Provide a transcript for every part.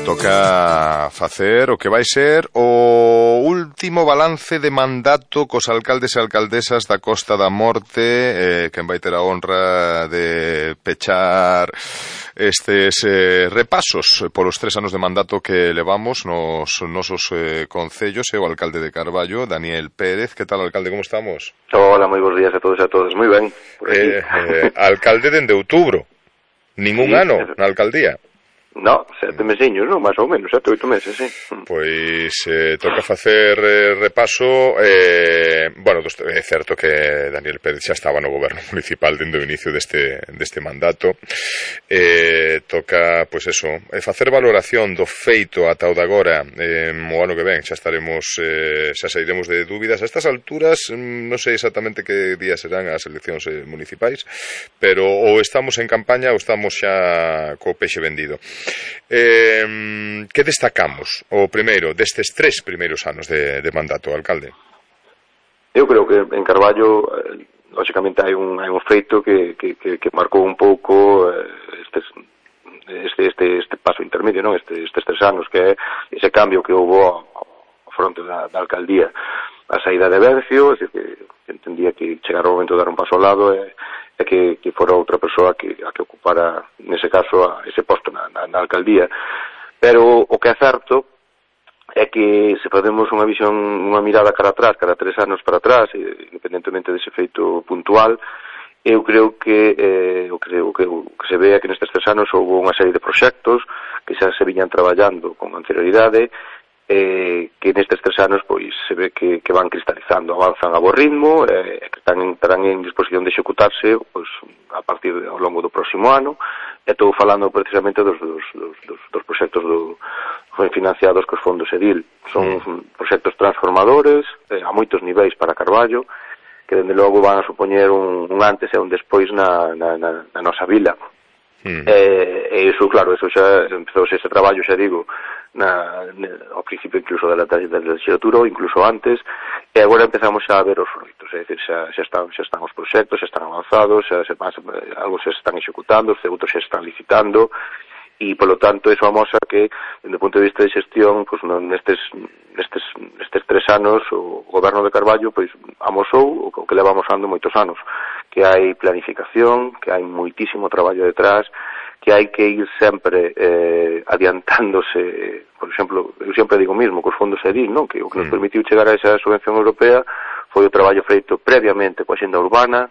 Toca facer o que vai ser o último balance de mandato cos alcaldes e alcaldesas da Costa da Morte, quen vai ter a honra de pechar estes repasos polos 3 anos de mandato que levamos nos nosos concellos, o alcalde de Carballo, Daniel Pérez. Que tal, alcalde, como estamos? Hola, moi bons días a todos e a todas. Moi ben. Alcalde dende outubro. Ningún ano na alcaldía. No, 7 mesiños, non? Más ou menos, 7, 8 meses, sí. Pois toca facer repaso. Bueno, é certo que Daniel Pérez xa estaba no goberno municipal dende o inicio deste mandato. Toca, pois eso, facer valoración do feito ata o de agora. O ano que ven xa estaremos, xa sairemos de dúbidas. A estas alturas non sei exactamente que días serán as eleccións municipais, pero ou estamos en campaña ou estamos xa co peixe vendido. Que destacamos o primeiro destes 3 primeiros anos de mandato, alcalde? Eu creo que en Carballo lógicamente hai un feito que marcou un pouco este paso intermedio, non? Estes 3 anos, que é ese cambio que houve ao fronte da alcaldía, a saída de Bencio, é dicir, que entendía que chegara o momento de dar un paso ao lado e que fora outra persoa que ocupara, nese caso, ese posto na alcaldía. Pero o que é certo é que se facemos unha visión, unha mirada cara atrás, cada 3 anos para atrás, independentemente dese feito puntual, eu creo que o que se ve é que nestes 3 anos houve unha serie de proxectos que xa se viñan traballando con anterioridade, que nestes 3 anos pois se ve que van cristalizando, avanzan a bo ritmo, que estarán en disposición de executarse pois a partir ao longo do próximo ano. Estou falando precisamente dos proxectos financiados cos fondos EDIL. Son proxectos transformadores a moitos niveis para Carballo, que dende logo van a supoñer un antes e un despois na nosa vila. E iso, claro, eso xa empezou ese traballo, xa digo, ao principio incluso da legislatura ou incluso antes, e agora empezamos xa a ver os froitos, é dicir, xa están os proxectos, xa están avanzados, algo xa se están executando, outros xa están licitando, e polo tanto eso amosa que, dende o punto de vista de xestión, pois nestes 3 anos o goberno de Carballo pois amosou o que levamos ando moitos anos, que hai planificación, que hai moitísimo traballo detrás, que hai que ir sempre adiantándose. Por exemplo, eu sempre digo mismo, cos fondos EDIL, non? Que o que nos permitiu chegar a esa subvención europea foi o traballo feito previamente coa xenda urbana,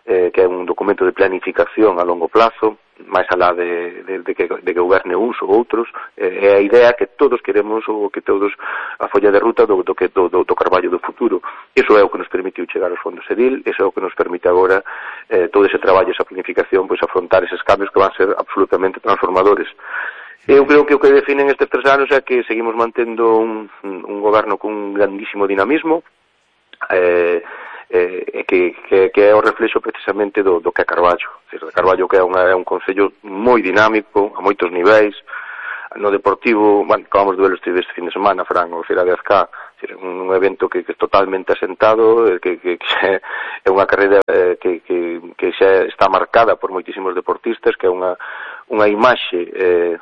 que é un documento de planificación a longo plazo, máis alá de que goberne uns ou outros, é a idea que todos queremos, ou que todos a folla de ruta do Carballo do futuro. Iso é o que nos permitiu chegar aos fondos EDIL, iso é o que nos permite agora todo ese traballo, esa planificación, pois afrontar eses cambios que van ser absolutamente transformadores. Eu creo que o que definen estes 3 anos é que seguimos mantendo un goberno con un grandísimo dinamismo, que é o reflexo precisamente do que é Carballo. Carballo que é un concello moi dinámico, a moitos niveis. No deportivo, bueno, acabamos de ver este fin de semana, Fran, o Feira de Azcá, un evento que é totalmente asentado, que é unha carreira que xa está marcada por moitísimos deportistas, que é unha imaxe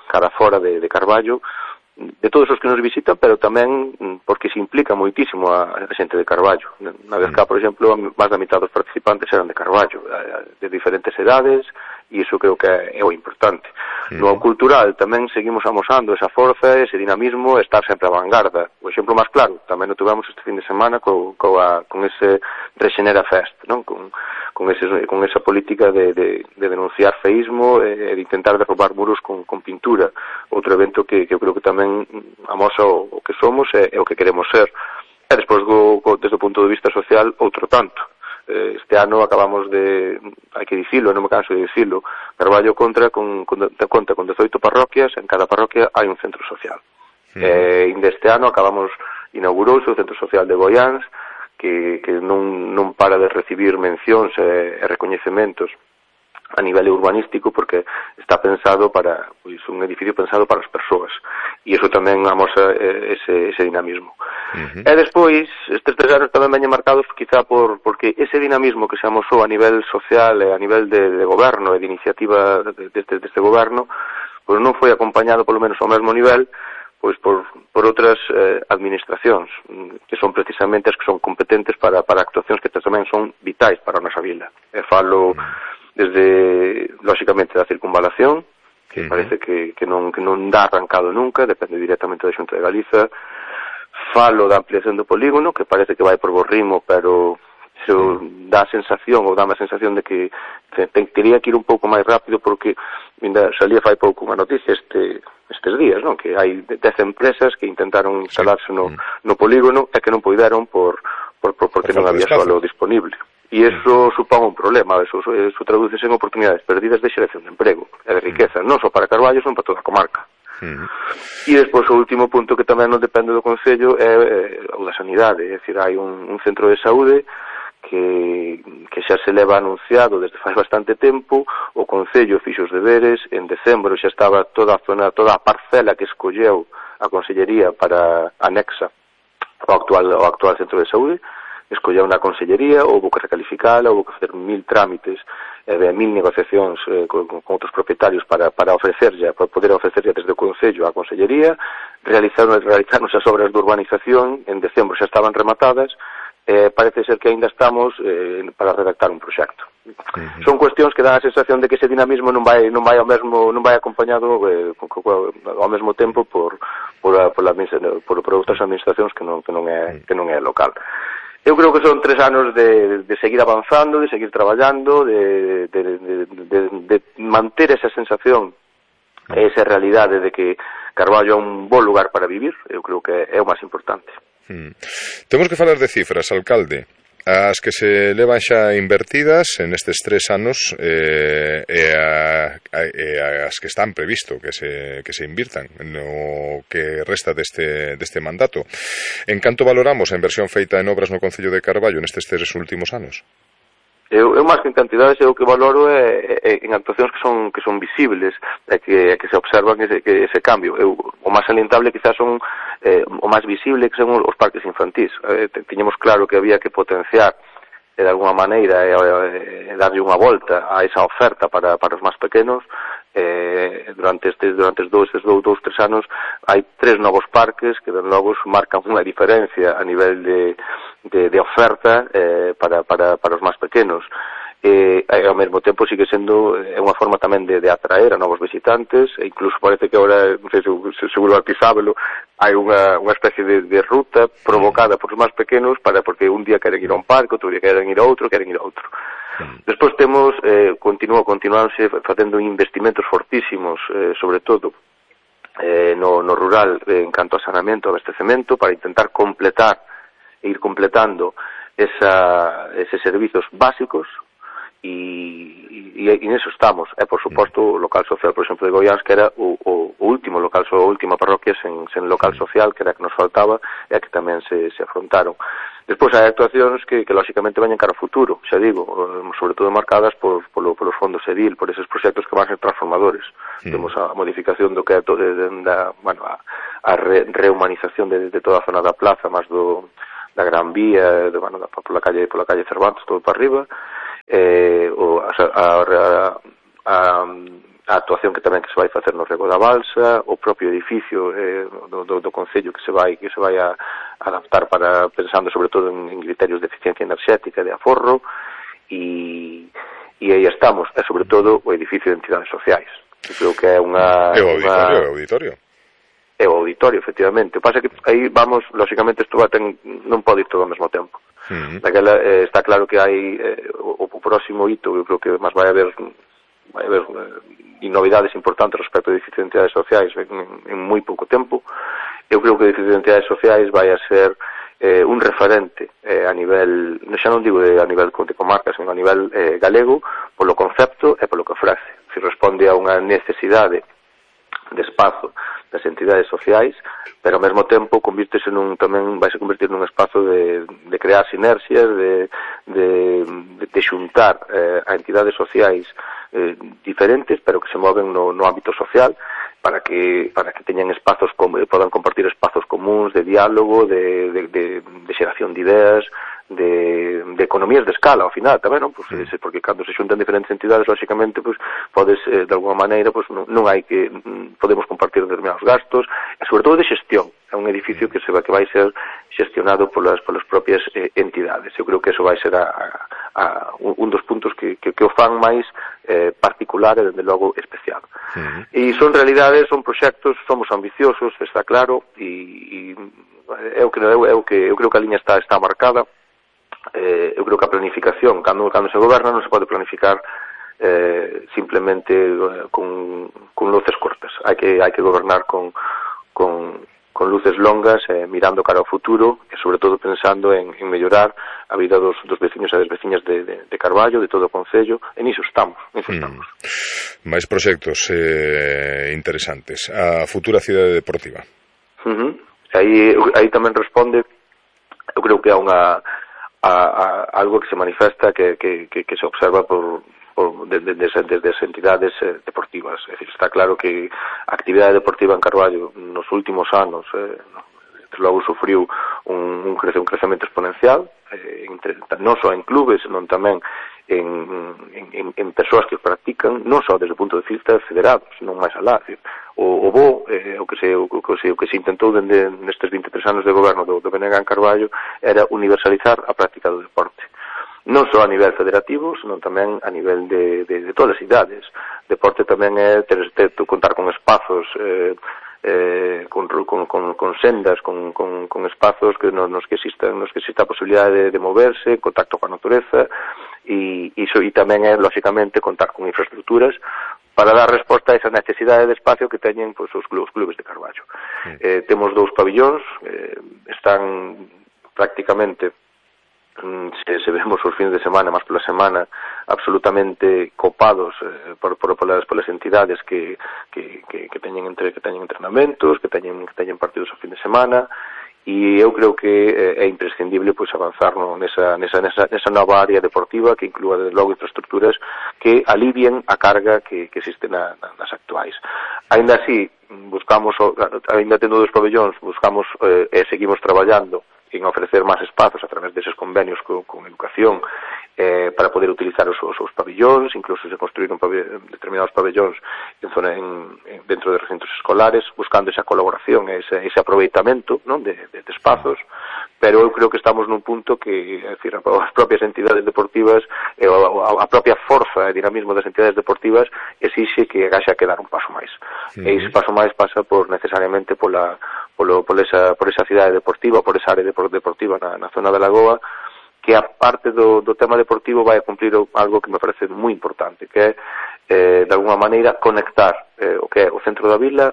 cara fora de Carballo, de todos os que nos visitan, pero tamén porque se implica moitísimo a xente de Carballo. Na Azcá, por exemplo, máis da mitad dos participantes eran de Carballo, de diferentes edades, e iso creo que é o importante. No cultural tamén seguimos amosando esa forza, ese dinamismo, estar sempre a vanguarda. O exemplo máis claro, tamén o tuvemos este fin de semana con ese Rexenera Fest, non? Con esa política de denunciar feísmo e de intentar derrubar muros con pintura. Outro evento que eu creo que tamén amosa o que somos e o que queremos ser. E despois, desde o punto de vista social, outro tanto. Este ano acabamos de, hai que dicilo, non me canso de dicilo, Carballo conta con 18 parroquias, en cada parroquia hai un centro social. Este ano inaugurouse o centro social de Boiáns, que non para de recibir mencións e recoñecementos a nivel urbanístico, porque está pensado para, pois, un edificio pensado para as persoas, e iso tamén amosa ese dinamismo. E despois, estes 3 anos tamén veñen marcados quizá porque ese dinamismo que se amosou a nivel social e a nivel de goberno e de iniciativa deste goberno, pois non foi acompañado polo menos ao mesmo nivel pois por outras administracións que son precisamente as que son competentes para actuacións que tamén son vitais para a nosa vila. E falo desde, lóxicamente, da circunvalación, que parece que non dá arrancado nunca, depende directamente da Xunta de Galiza. Falo da ampliación do polígono, que parece que vai por bo ritmo, pero dá a sensación, ou dá-me a sensación de que quería que ir un pouco máis rápido, porque ainda salía fai pouco unha noticia estes días, non? Que hai 10 empresas que intentaron instalarse no polígono e que non poideron porque non había suelo disponible. E iso supón un problema, eso tradúcese en oportunidades perdidas de xeración de emprego e de riqueza, non só para Carballo, son para toda a comarca. E despois o último punto que tamén non depende do Concello é o da sanidade, é dicir, hai un centro de saúde que xa se leva anunciado desde faz bastante tempo. O Concello fixo os deberes, en decembro xa estaba toda a parcela que escolleu a Consellería para anexa ao actual centro de saúde, escolleu na Consellería, houve que recalificala, houve que facer 1000 trámites, 1000 negociacións con outros propietarios para poder ofrecerlle desde o Concello á Consellería, realizarnos as obras de urbanización, en decembro xa estaban rematadas, parece ser que ainda estamos para redactar un proxecto. Son cuestións que dan a sensación de que ese dinamismo non vai acompañado ao mesmo tempo por outras administracións que non é local. Eu creo que son 3 anos de seguir avanzando, de seguir traballando, de manter esa sensación, esa realidade de que Carballo é un bo lugar para vivir. Eu creo que é o máis importante. Temos que falar de cifras, alcalde. As que se levan xa invertidas en estes 3 anos e as que están previsto que se invirtan no que resta deste mandato. En canto valoramos a inversión feita en obras no Concello de Carballo nestes 3 últimos anos? Eu máis que en cantidades, o que valoro é en actuacións que son visibles e que se observan ese cambio. O máis salientable quizás son o máis visible que son os parques infantís. Tiñemos claro que había que potenciar de alguma maneira darlle unha volta a esa oferta para os máis pequenos. Durante estes 2, 3 anos hai 3 novos parques que de logo marcan unha diferencia a nivel de oferta para os máis pequenos. E ao mesmo tempo sigue sendo unha forma tamén de atraer a novos visitantes, e incluso parece que agora, non sei se seguro altizábelo, hai unha especie de ruta provocada por os máis pequenos porque un día queren ir a un parque, outro día queren ir a outro. Despois temos, continuándose facendo investimentos fortísimos, sobre todo no rural, en canto a saneamento, abastecemento, para intentar ir completando eses servizos básicos. E niso estamos. E, por suposto, o local social, por exemplo, de Goiás, que era o último local, a última parroquia sen local social, que era a que nos faltaba, e a que tamén se afrontaron. Despois hai actuacións que lóxicamente veñen cara ao futuro, xa digo, sobre todo marcadas polos fondos EDIL, por eses proxectos que van ser transformadores. Temos a modificación do que é a rehumanización de toda a zona da plaza, máis da Gran Vía, pola calle Cervantes, todo para arriba. A actuación que tamén se vai facer no Rego da Balsa, o propio edificio do Concello que se vai a adaptar pensando sobre todo en criterios de eficiencia enerxética, de aforro, e aí estamos, e sobre todo o edificio de entidades sociais. Eu creo que é É o auditorio, efectivamente. O que pasa é que aí vamos, lóxicamente, isto non pode ir todo ao mesmo tempo. Daquela está claro que hai o próximo hito, eu creo que máis vai haber novidades importantes respecto ao edificio de entidades sociais en moi pouco tempo. Eu creo que o edificio de entidades sociais vai a ser un referente a nivel, xa non digo a nivel de comarca, sino a nivel galego, polo concepto e polo que ofrece. Se responde a unha necesidade de espazo das entidades sociais, pero ao mesmo tempo tamén vai se convertir nun espazo de crear sinerxias, de xuntar a entidades sociais diferentes, pero que se moven no ámbito social, para que teñan podan compartir espazos comuns de diálogo, de xeración de ideas, economías de escala ao final tamén, non? Pues, porque cando se xuntan diferentes entidades, lógicamente, pues, podes, de alguma maneira, pues, non hai que podemos compartir determinados gastos, e sobre todo de xestión. É un edificio que vai ser xestionado polas propias entidades. Eu creo que eso vai ser un dos puntos que o fan máis particular e, dende logo, especial. E son realidades, son proxectos, somos ambiciosos, está claro, e eu creo que a liña está marcada. Eu creo que a planificación, cando se goberna, non se pode planificar simplemente con luces cortas. Hai que gobernar con luces longas, mirando cara ao futuro e, sobre todo, pensando en mellorar a vida dos veciños e das veciñas de Carballo, de todo o concello, e niso estamos. Máis proxectos interesantes. A futura cidade deportiva. Aí tamén responde, eu creo que há algo que se manifesta que se observa desde as entidades deportivas. É dicir, está claro que a actividade deportiva en Carballo nos últimos anos logo sufriu un crecemento exponencial, non só en clubes, senón tamén en persoas que practican, non só desde o punto de vista federado, senón máis alá. O que se intentou nestes 23 anos de goberno do BNG en Carballo era universalizar a práctica do deporte, non só a nivel federativo, senón tamén a nivel de todas as idades. Deporte tamén é contar con espazos, con sendas, con espazos nos que exista a posibilidade de moverse, contacto coa natureza, e tamén é, lógicamente, contar con infraestructuras para dar resposta a esa necesidade de espacio que teñen, pois, os clubes de Carballo. Temos 2 pabillóns, están prácticamente, se vemos os fins de semana, máis pola semana, absolutamente copados polas entidades que teñen entrenamentos, que teñen partidos ao fin de semana, e eu creo que é imprescindible, pois, avanzar nesa nova área deportiva que inclúa, desde logo, infraestructuras que alivien a carga que existe nas actuais. Aínda así, aínda tendo 2 pabellóns, buscamos e seguimos traballando en ofrecer máis espazos a través deses convenios con educación, para poder utilizar os seus pabellóns. Incluso se construíron determinados pabellóns dentro de recintos escolares, buscando esa colaboración, ese aproveitamento, non, de espazos. Pero eu creo que estamos nun punto que, é dicir, as propias entidades deportivas, a propia forza e dinamismo das entidades deportivas exixe que haxa que dar un paso máis. E ese paso máis pasa necesariamente por esa cidade deportiva, por esa área deportiva na zona da Lagoa, que a parte do tema deportivo vai a cumplir algo que me parece moi importante, que é, de alguna maneira, conectar o que é o centro da vila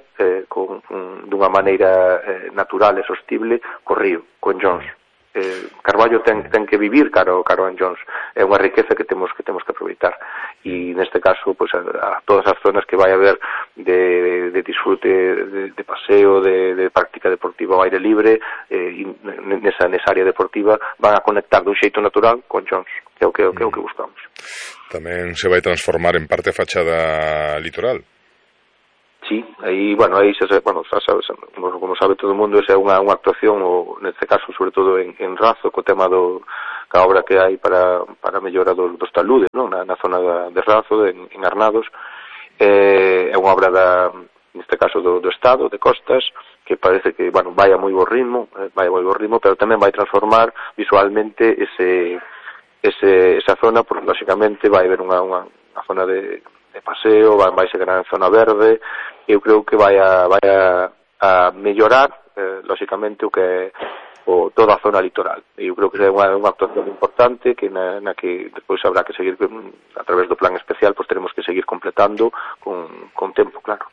dunha maneira natural e sostible co río, co Enllóns. Carballo ten que vivir caro a Enllóns. É unha riqueza que temos que aproveitar, e neste caso, pois, a todas as zonas que vai haber de disfrute, de paseo, de práctica deportiva ao aire libre, nesa área deportiva, van a conectar dun xeito natural con Enllóns, que é o que buscamos. Tamén se vai transformar en parte a fachada litoral. Sí, aí sabes, como sabe todo o mundo, esa é unha actuación, ou neste caso, sobre todo en Razo, co tema ca obra que hai para a mellora dos taludes, non? Na zona de Razo, en Arnados. É unha obra neste caso do Estado, de Costas, que parece que, vai a moi bo ritmo, pero tamén vai transformar visualmente esa zona, porque, lógicamente, vai haber unha zona de paseo, vai ser gran zona verde. Eu creo que vai a mellorar, lógicamente, o que é toda a zona litoral. Eu creo que é unha actuación importante na que despois habrá que seguir a través do plan especial, pois teremos que seguir completando con tempo, claro.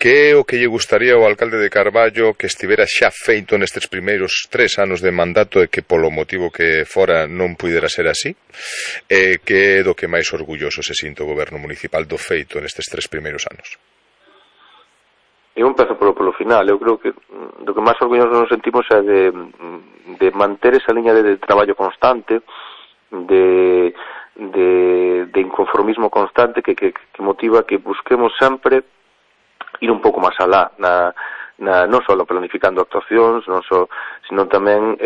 Que é o que lle gustaría ao alcalde de Carballo que estivera xa feito nestes primeiros 3 anos de mandato e que polo motivo que fora non puidera ser así? Que é do que máis orgulloso se sinto o goberno municipal do feito nestes 3 primeiros anos? Eu empezo polo final. Eu creo que do que máis orgulloso nos sentimos é de manter esa liña de traballo constante, de inconformismo constante que motiva que busquemos sempre ir un pouco máis alá non só planificando actuacións, sino tamén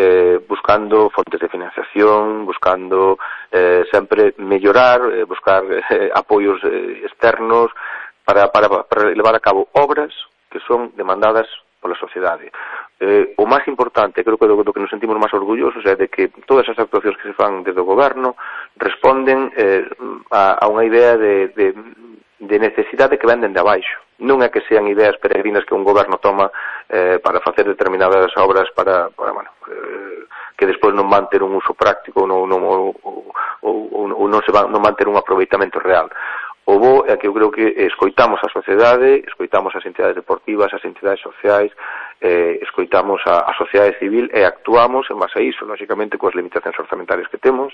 buscando fontes de financiación, buscando sempre mellorar, buscar apoios externos para levar a cabo obras que son demandadas pola sociedade. O máis importante, creo que do que nos sentimos máis orgullosos é de que todas as actuacións que se fan desde o goberno responden a unha idea de necesidade que venden de abaixo. Non é que sean ideas peregrinas que un goberno toma para facer determinadas obras que despois non van ter un uso práctico ou non van ter un aproveitamento real. O bo é que eu creo que escoitamos a sociedade, escoitamos as entidades deportivas, as entidades sociais, escoitamos a sociedade civil e actuamos en base a iso, lógicamente coas limitacións orzamentarias que temos,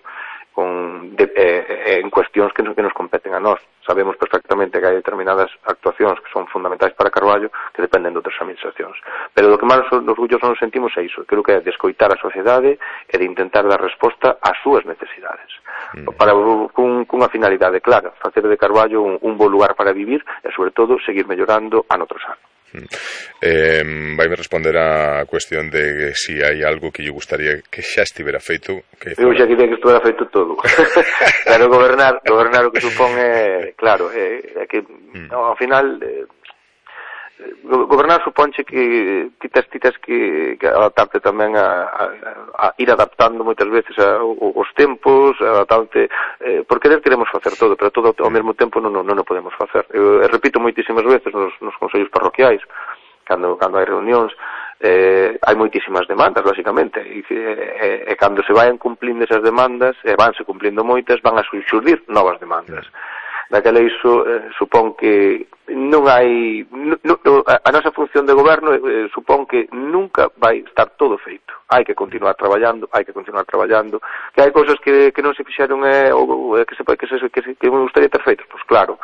en cuestións que nos competen a nós. Sabemos perfectamente que hai determinadas actuacións que son fundamentais para Carballo que dependen de outras administracións. Pero do que máis orgullosos nos sentimos é iso, creo que é de escoitar a sociedade e de intentar dar resposta ás súas necesidades. Cunha finalidade clara, facer de Carballo un bo lugar para vivir e, sobre todo, seguir mellorando ano tras ano. Vaime responder a cuestión de si hai algo que lle gustaría que xa estivera feito. Eu xa quería que estivera feito todo. Pero gobernar o que supón é, claro, é que ao final gobernar supónche que ti tes que adaptarte tamén a ir adaptando moitas veces os tempos, adaptarte, por querer queremos facer todo, pero todo ao mesmo tempo non o podemos facer. Eu repito moitísimas veces nos consellos parroquiais, cando hai reunións, hai moitísimas demandas, lógicamente, e cando se vayan cumplindo esas demandas, e vanse cumplindo moitas, van a surgir novas demandas. Daquela iso supón que non hai a nosa función de goberno supón que nunca vai estar todo feito. Hai que continuar traballando, que hai cousas que non se fixeron que me gustaría ter feitos, pois claro,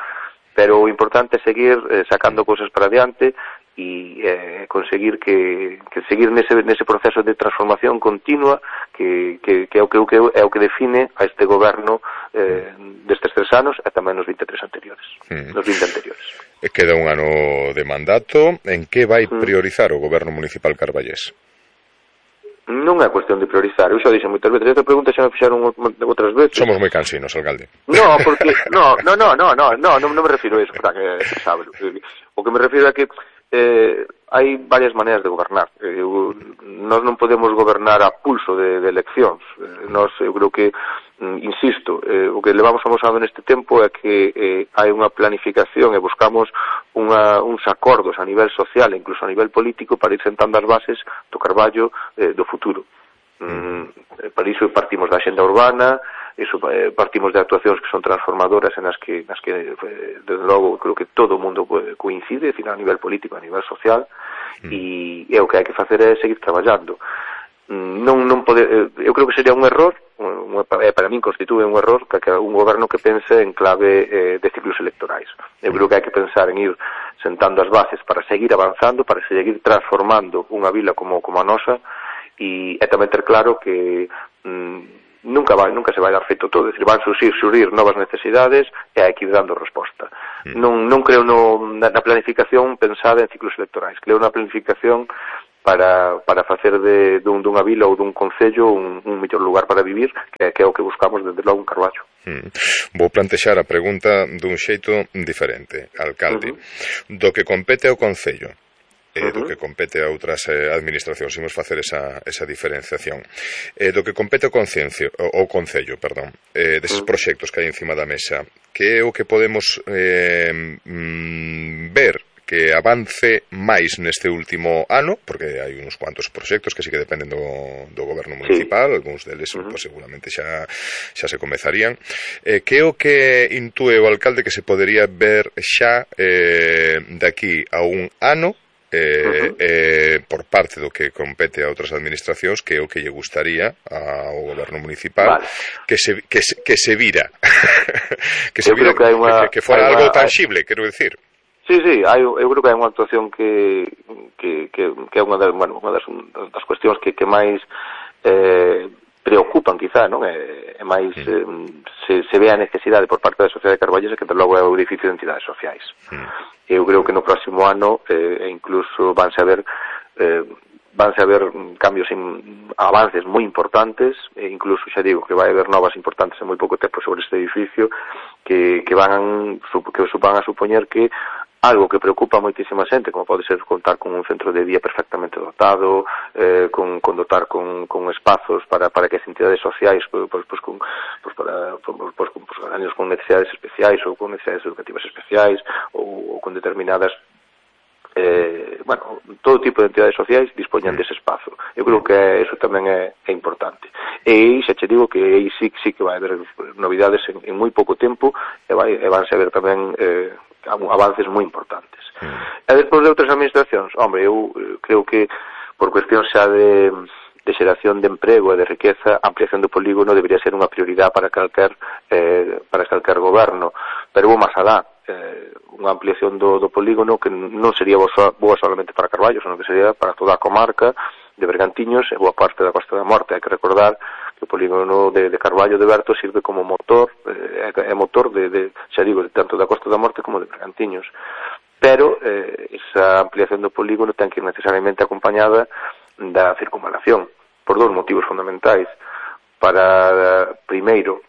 pero o importante é seguir sacando cousas para adiante e conseguir que seguir nese proceso de transformación continua que é o que define a este goberno destes 3 anos e tamén nos 23 anteriores, nos 20 anteriores. Queda un ano de mandato. En que vai priorizar o goberno municipal carballés? Non é cuestión de priorizar. Eu xa dixen moitas veces, esta pregunta xa me fixaron outras veces. Somos moi cansinos, alcalde. No, porque non me refiro a eso, que sabe. O que me refiro é que hai varias maneiras de gobernar. Nós non podemos gobernar a pulso de eleccións. Eu creo que, insisto, o que levamos amosando neste tempo é que hai unha planificación e buscamos uns acordos a nivel social e incluso a nivel político para ir sentando as bases do Carballo do futuro. Para iso partimos da axenda urbana, partimos de actuacións que son transformadoras nas que desde logo creo que todo o mundo coincide, a nivel político, a nivel social, e o que hai que facer é seguir traballando. Eu creo que sería un error, para min constitúe un error que un goberno que pense en clave de ciclos electorais. Eu creo que hai que pensar en ir sentando as bases para seguir avanzando, para seguir transformando unha vila como a nosa, e tamén ter claro que nunca se vai dar feito todo, é dicir, van surgir novas necesidades e hai que ir dando resposta. Non creo na planificación pensada en ciclos electorais, creo na planificación para facer dunha vila ou dun concello un mellor lugar para vivir, que é o que buscamos desde logo en Carballo. Vou plantexar a pregunta dun xeito diferente, alcalde. Do que compete ao concello do que compete a outras administracións, imos facer esa diferenciación. Do que compete ao concello, deses proxectos que hai encima da mesa, que é o que podemos ver que avance máis neste último ano, porque hai uns cuantos proxectos que sí que dependen do goberno municipal, algúns deles seguramente xa se comezarían. Que é o que intúe o alcalde que se podería ver xa daqui a un ano por parte do que compete a outras administracións, que é o que lle gustaría ao goberno municipal, vale, que se vira que fora algo tangible, quero dicir. Sí, eu creo que hai unha actuación que é unha das cuestións que máis preocupan quizá, non? É máis se ve a necesidade por parte da sociedade de Carballo que logo é o edificio de entidades sociais. Eu creo que no próximo ano incluso vanse a ver cambios, avances moi importantes, e incluso xa digo que vai haber novas importantes en moi pouco tempo sobre este edificio que van a supoñer que algo que preocupa a moitísima xente, como pode ser contar con un centro de día perfectamente dotado, con espazos para que as entidades sociais años con necesidades especiais ou con necesidades educativas especiais ou con determinadas todo tipo de entidades sociais dispoñan dese espazo. Eu creo que eso tamén é importante. E xa che digo que aí sí que vai haber novidades en moi pouco tempo e vanse a ver tamén avances moi importantes. E despois de outras administracións, hombre, eu creo que por cuestión xa de xeración de emprego e de riqueza, a ampliación do polígono debería ser unha prioridade para calquer goberno, pero vou máis alá. Unha ampliación do polígono que non sería boa solamente para Carballo, senón que sería para toda a comarca de Bergantiños e boa parte da Costa da Morte. Hai que recordar que o polígono de Carballo de Berto sirve como motor, é motor xa digo, tanto da Costa da Morte como de Bergantiños. Pero esa ampliación do polígono ten que ir necesariamente acompañada da circunvalación, por dous motivos fundamentais. Para, primeiro,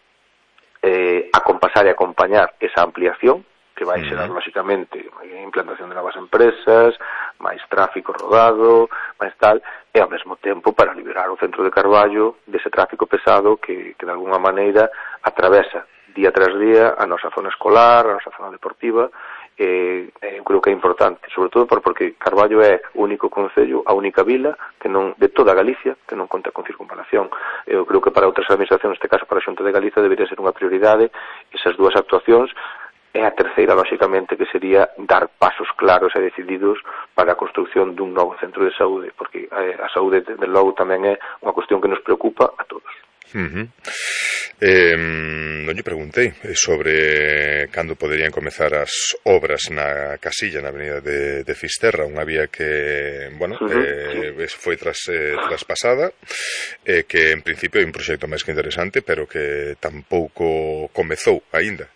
acompasar e acompañar esa ampliación, que vai xerar, lóxicamente, a implantación de novas empresas, máis tráfico rodado, máis tal, e ao mesmo tempo para liberar o centro de Carballo dese tráfico pesado que de alguna maneira atravesa día tras día a nosa zona escolar, a nosa zona deportiva. Eu creo que é importante, sobre todo porque Carballo é o único concello, a única vila de toda Galicia que non conta con circunvalación. Eu creo que para outras administracións, neste caso para a Xunta de Galicia, debería ser unha prioridade esas dúas actuacións. E a terceira, lóxicamente, que sería dar pasos claros e decididos para a construción dun novo centro de saúde, porque a saúde, de logo, tamén é unha cuestión que nos preocupa a todos. Non lle preguntei sobre cando poderían comezar as obras na casilla na avenida de Fisterra, unha vía que, foi traspasada, que en principio é un proxecto máis que interesante, pero que tampouco comezou aínda.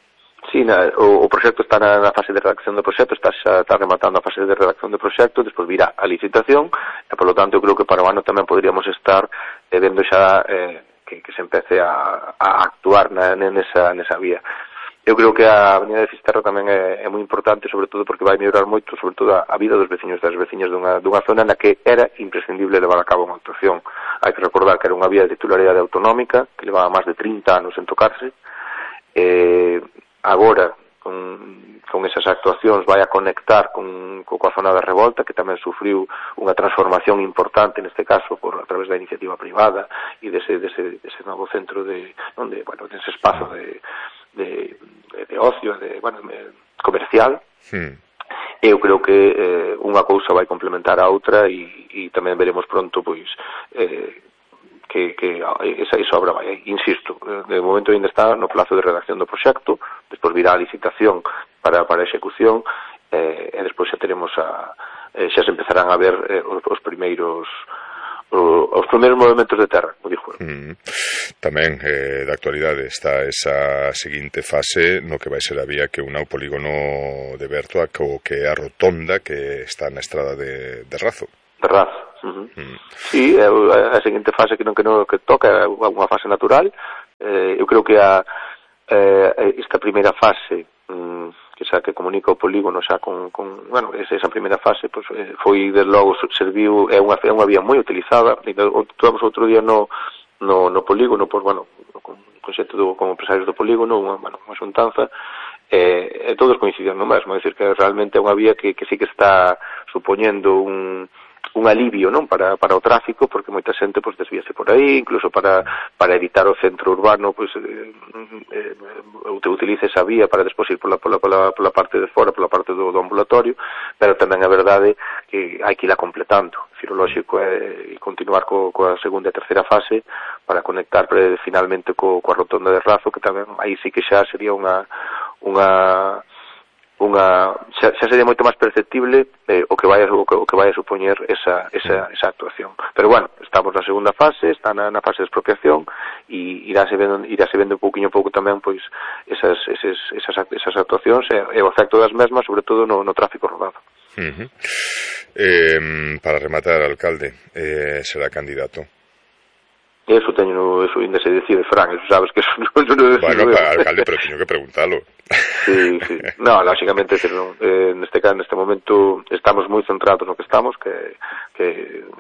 Sí, o proxecto está na fase de redacción do proxecto, está rematando a fase de redacción do proxecto, despois virá a licitación, e, por lo tanto, eu creo que para o ano tamén poderíamos estar vendo xa que se empece a actuar nesa vía. Eu creo que a avenida de Fisterra tamén é moi importante, sobre todo porque vai mellorar moito, sobre todo a vida dos veciños e das veciñas dunha zona na que era imprescindible levar a cabo unha actuación. Hai que recordar que era unha vía de titularidade autonómica, que levaba máis de 30 anos en tocarse. Agora, con esas actuacións, vai a conectar coa zona da Revolta, que tamén sufriu unha transformación importante, neste caso, a través da iniciativa privada e dese novo centro dese espazo de ocio, comercial. Eu creo que unha cousa vai complementar a outra e tamén veremos pronto, pois, que esa obra vai, insisto, de momento ainda está no plazo de redacción do proxecto, despois virá a licitación para a execución, e despois xa teremos xa se empezarán a ver os primeiros movimentos de terra, como dixo. Tamén, da actualidade, está esa seguinte fase no que vai ser a vía que una o polígono de Bertoa, que é a rotonda que está na estrada de Razo. De Razo. Sí, a seguinte fase que toca é unha fase natural. Eu creo que esta primeira fase que comunica o polígono xa esa primeira fase foi, de logo, serviu, é unha vía moi utilizada. Tuvemos outro día no polígono, con xente como empresarios do polígono, unha xuntanza, e todos coinciden no mesmo, é dicir, que realmente é unha vía que sí que está supoñendo un alivio, non, para o tráfico, porque moita xente desvíase por aí, incluso para evitar o centro urbano, utiliza esa vía para despois ir pola parte de fora, pola parte do ambulatorio, pero tamén é verdade que hai que ir completando. O lógico é continuar coa segunda e terceira fase para conectar finalmente coa rotonda de Razo, que tamén aí sí que xa sería unha xa sería moito máis perceptible o que vai a supoñer esa actuación. Pero bueno, estamos na segunda fase, está na fase de expropiación e irase vendo pouquiño a pouco tamén pois esas actuacións e o efecto das mesmas, sobre todo no tráfico rodado. Para rematar, alcalde, será candidato? Eso ainda se decide, Fran, eso sabes que eso non decido. Bueno, alcalde, pero teño que preguntalo. Sí. No, lógicamente, neste momento estamos moi centrados no que estamos, que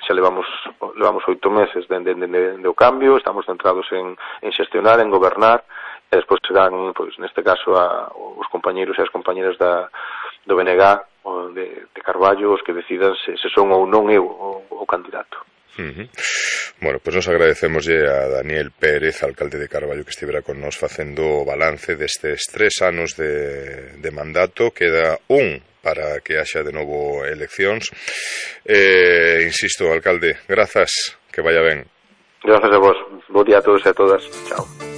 xa levamos 8 meses dende o cambio, estamos centrados en xestionar, en gobernar, e despois serán, pois, neste caso, os compañeiros e as compañeras do BNG ou de Carballo os que decidan se son ou non eu o candidato. Bueno, pues nos agradecemoslle a Daniel Pérez, alcalde de Carballo, que estivera con nos facendo o balance destes 3 anos de mandato. Queda un para que haxa de novo eleccións. Insisto, alcalde, grazas, que vaya ben. Grazas a vos, bo día a todos e a todas. Chao.